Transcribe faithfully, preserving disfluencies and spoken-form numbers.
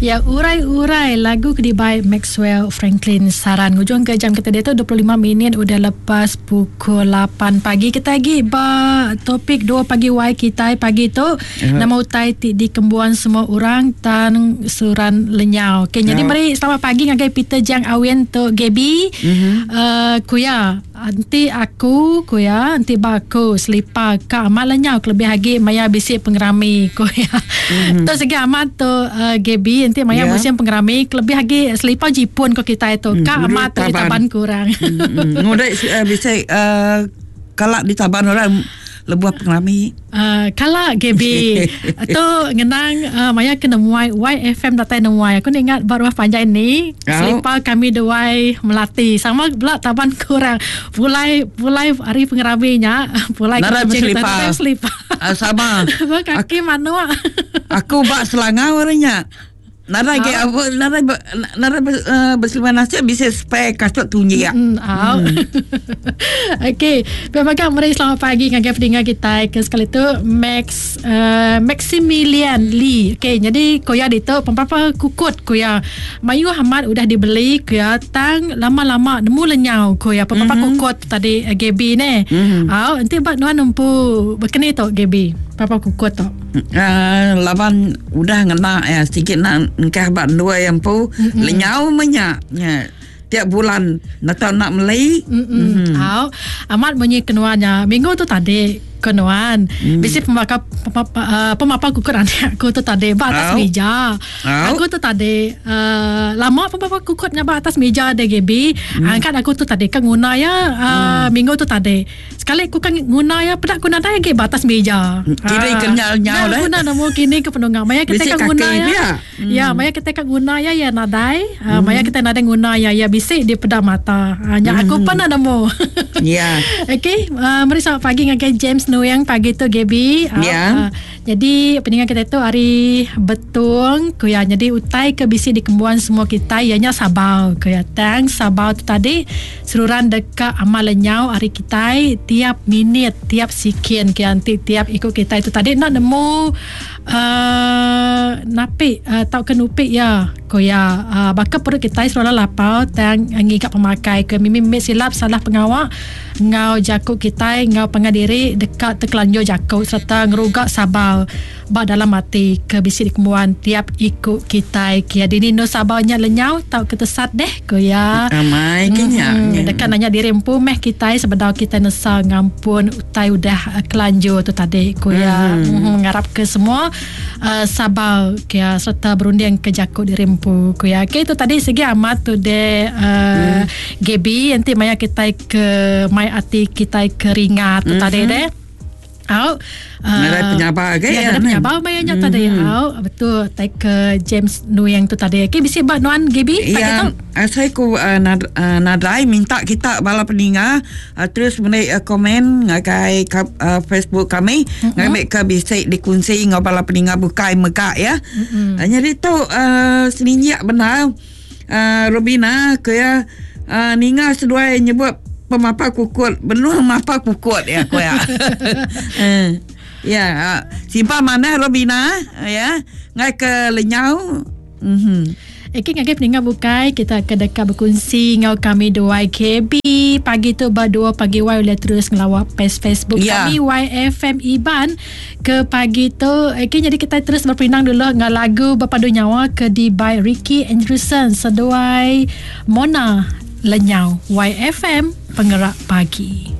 Ya, urai-urai lagu ke by Maxwell Franklin Saran. Ngujung ke jam kita dia tu dua puluh lima minit udah lepas pukul lapan pagi. Kita lagi ba topik dua pagi Y kita pagi tu. Uh-huh. Nama utai ti dikembuan semua orang tan suran lenyau. Okey, jadi uh-huh. mari selamat pagi ngagai Peter Jang Awen tu Gaby. Uh-huh. Uh, kuya anti aku kuya anti baku selipar ka amat lenyau kelebih lagi maya bisi pengerami kuya. Uh-huh. Tu segi amat tu uh, Gaby nanti maya yeah. musim pengerami kelebih lagi selipar jipun ko kita itu hmm, ka amat tu ditaban kurang. Hmm, ngudai uh, bisa uh, kalak ditaban orang lebuh pengerami. Uh, kalak Gaby tu ngenang uh, maya kena muai Y F M datai nemuai. Aku ni ingat baru panjai ni oh. Selipar kami duai melati sama pula taban kurang pulai pulai hari pengeraminya pulai narai berselipar selipar uh, sama kaki manua aku bak Selangor orangnya. Narai ke apa narai narai berselima nasib bisa spare kasut tunji ya. Hmm. Mm. Okey, memang mari selamat pagi ngagai pendengar kita ke sekali tu Max uh, Maximilian Lee. Okey, jadi koya ditu pempapa kukut koya. Mayu Ahmad udah dibeli koya tang lama-lama nemu lenyau koya pempapa mm-hmm. kukut tadi uh, Gaby ne. Mm-hmm. Au nanti bak nuan nempu bekeni tu Gaby. Papa kukut tu. Uh, laban udah ngena ya sikit nak engkah bak dua yang pu mm-hmm. lenyau menyak ya. Tiap bulan nak tahu nak beli. Mm-hmm. Au amat bunyi kenuannya minggu tu tadi kenuan mm. Bisi pemaka pemapa, pemapa kukut anak aku tu tadi ba atas oh. meja. Oh. Aku tu tadi uh, lama pemapa kukutnya ba atas meja D G B. Mm. Angkat aku tu tadi kan guna ya uh, mm. minggu tu tadi. Sekali aku kan guna ya pedak guna dah lagi ba atas meja. Kira uh, kenyal nyau dah. Guna nemu kini ke penunggang. Maya kita kan guna ya. Mm. Ya, maya kita kan guna ya ya nadai. Uh, mm. Maya kita nadai guna ya ya bisik di pedak mata. Uh, nya mm. aku pun nak nemu. Ya. Okey, uh, mari selamat pagi ngagai James Nuyang pagi tu Gaby. Ya. Yeah. Uh, jadi pendengar kita tu hari betung kuya. Jadi utai ke bisi dikembuan semua kita ianya sabar kuya. Tang sabar tu tadi seruran dekat amal lenyau hari kita tiap minit, tiap sikin ke nanti tiap ikut kita itu tadi nak nemu uh, napi uh, tau ke nupik ya kuya. Uh, bakal perut kita seruran lapar tang ngigap pemakai ke mimi silap salah pengawak ngau jakuk kita ngau pengadiri dekat terkelanjur jakuk serta ngerugak sabar bak dalam mati ke bisi dikembuan tiap ikut kita kia dini no sabarnya lenyau tau ketesat deh ko ya amai kenya hmm, dekat nanya diri empu meh kita sebedau kita nesa ngampun utai udah kelanjur tu tadi ko ya mm-hmm. mm-hmm, ngarap ke semua uh, sabar kia serta berunding ke jakuk diri empu ko ya. Okey, itu tadi segi amat tu de uh, mm. Gaby nanti maya kita ke mai ati kita keringat tu mm-hmm. tadi deh. Au uh, penyabar ke ya, ya penyabar mayanya mm-hmm. tadi au betul take ke James Nuyang tu tadi. Okey bisi bak nuan Gaby pagi tu. Saya ku uh, nad, uh, nadai minta kita bala peninga uh, terus menaik uh, komen ngagai uh, Facebook kami mm-hmm. ngambil ke bisi dikunci ngau bala peninga bukai megak ya. Mm-hmm. Uh, jadi tu uh, seninyak benar uh, Robina ke ya uh, ninga seduai nyebut pemapa kukut benuh mapa kukut ya ko ya. Ya, simpan mana Robina ya ngai ke lenyau. Mhm. Okey, ngagai pendengar bukai kita ke dekat berkongsi ngau kami dua K B pagi tu ber dua pagi Y boleh terus ngelawak page Facebook ya. Kami Y F M Iban ke pagi tu. Okey, jadi kita terus berpinang dulu dengan lagu Berpadu Nyawa ke di by Ricky Andrewson seduai Mona Lenyau. Y F M Pengerak Pagi.